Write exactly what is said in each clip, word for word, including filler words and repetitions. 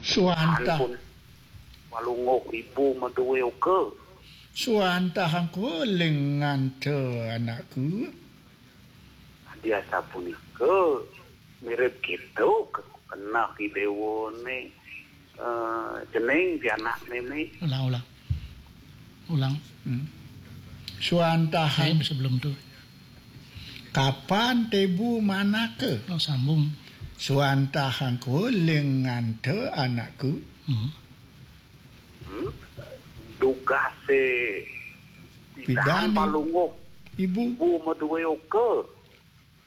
Suantah. Ampun. Palungguh ibu madué oka. Suantah angkuling nganta anakku. Adi asapunika, mirib kéto ke-, keneh I Déwané, eh, cening pianak mémé. Ulang, ulang. Ulang. Hmm. Suantah. Lain sebelum tu. Kapan tébu manaka? Oh, sambung. Suantah angkuling nganta anakku. Hmm. Hmm? Dugasé pidan, pidan palungguh ibu. Ibu madué oka.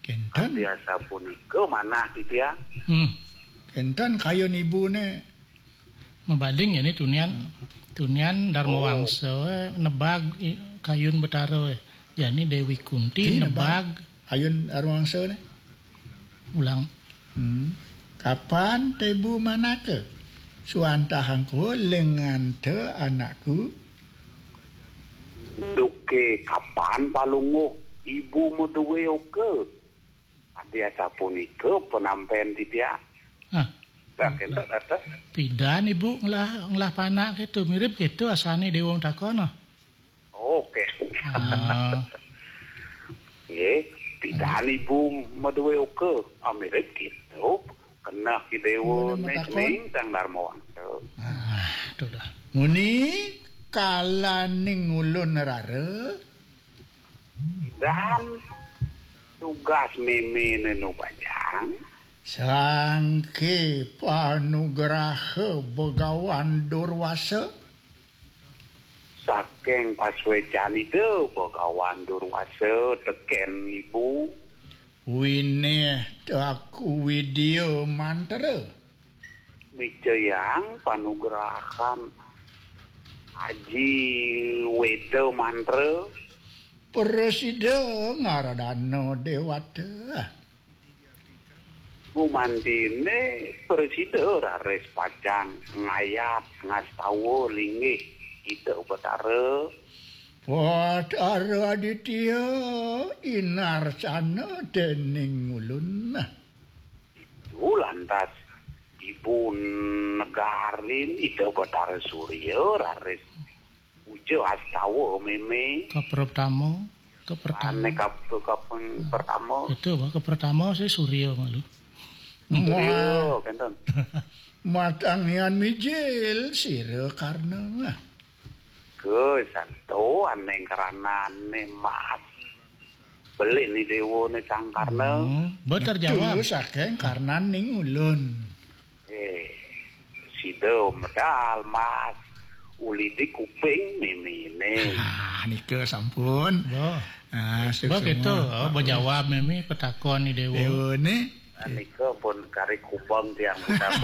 Kénten. Adi asapunika manah titiang. Hmm. Kénten kayun ibuné. Mabaling ya ni tunian. Tunian Darma Wangsa, eh, nebag, eh, kayun Betara, eh. Jani Déwi Kunti nebag. Kayun Darma Wangsa né. Ulang. Hmm. Kapan tébu manaka? Suantah angkuling nganta anakku. Duké kapan palungguh ibu madué oka. Adi asapunika panampén titiang. Ah. Pidan ibu ngelah, ngelah panak kéto, mirib kéto asané Déwa matakon, ah. Oké. Ah. Nggih, pidan ibu madué oka, ah, mirib kéto. Keneh I Déwané cening Sang Darma Wangsa. Ah, to dah. Muni kalaning ulun rara. Dan dugas mémé né nu bajang. Sangké panugraha Begawan Durwasa. Saking pasuécan Ida Begawan Durwasa tekén ibu. Winih Taku Widya Mantra. Micayang panugrahan Aji Wéda Mantra. Prasida ngaradana déwata. Gumantiné prasida raris pacang ngayat ngastawa linggih Ida Betara. Batara Aditya inarcana déning ulun. Itu lantas ibu negarin Ida Betara Surya raris puja astawa mémé. Kapertama, kapertama. Ané kap-, kaping pertama. Itu apa? Kapertama saya Surya malu. Surya, kénten. Matangian mijil sira Karna. Ke santo ané karanané mas. Belin ni déwané Sang Karna. Hmm, betul jawab. Itu saking karnaning ulun. Eh, sida medal mas. Uli di kuping méméné. Ah, nika sampun. Bo. Ah, bo suksma. Gitu. Oh, bejawab mémé petakon ni déwa. Déwané. Nika pun kari kubang tiang ucap.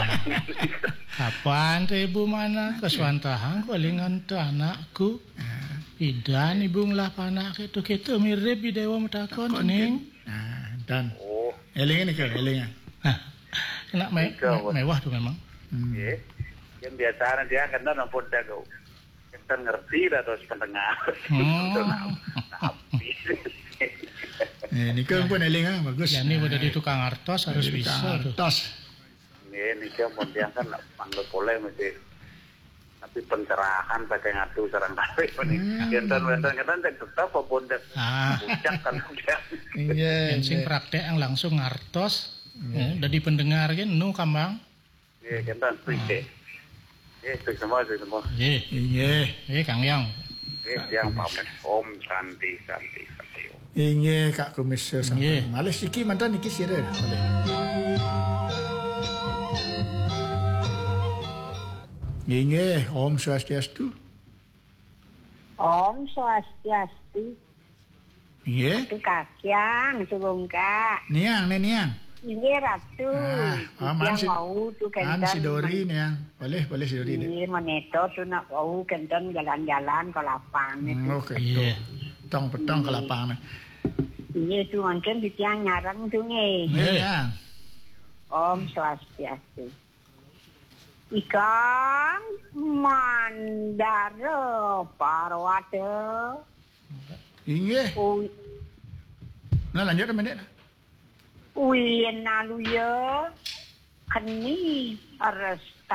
Kapan téh ibu manaka suantahang kalingan téh anakku? Ah. Pidan ibu ngelah panak kéto, kéto mirib I Déwa matakon, takon, ning. Nah, dan. Oh. Éling nika, éling. Nah, kena me-, nika, me-, mewah tuh memang. Hmm. Nggih. Yang biasa dia kan ampun jago. Kita ngerti dah terus pendengar. Hmm. Tapi. Eh, nika pun éling, ah, bagus. Jadi udah di tukang artos harus bisa tuh. Tukang artos. Nggih, niki ampun tiang kan manggil polé mesti. Tapi pencerahan saking atu sareng kalih punika. Hmm. Kénten wénten kénten cek tetep ampun cek. Ah. Puncak kan udah. Iya. Yang sing praktek yang langsung ngartos. Iya. Eh, dadi pendengar kan nu kambang. Nggih, kénten nggih. Nggih, suksma, suksma. Nggih. Nggih. Nggih, Kang Yang. Nggih, tiang pamit. Om Santi, Santi, Santi Om. Inggih, Kak Kumis, sampun. Inggih. Malih siki mantan niki sira. Malih. Inggih, Om Swastiastu. Om Swastiastu. Inggih. Ratu Kakyang, Sugungka. Niang, né Niang. Inggih, Ratu. Ah, aman. Tiang si, wau tu an kénten si Dori, Niang. Boleh, boleh si Dori, Dek. Inggih, menéto tu nak wau kénten jalan-jalan ke lapang. Hmm, itu. Oke, iya. Petong-petong ke lapang, nah. Inggih, tu mungkin di tiang nyareng tu, nggih. Iya, iya. Om Swastiastu. Ikang Mandara Parwata. Inggih. Ui. Nah, lanjut, Mendek. Uyen Aluya, keni res-,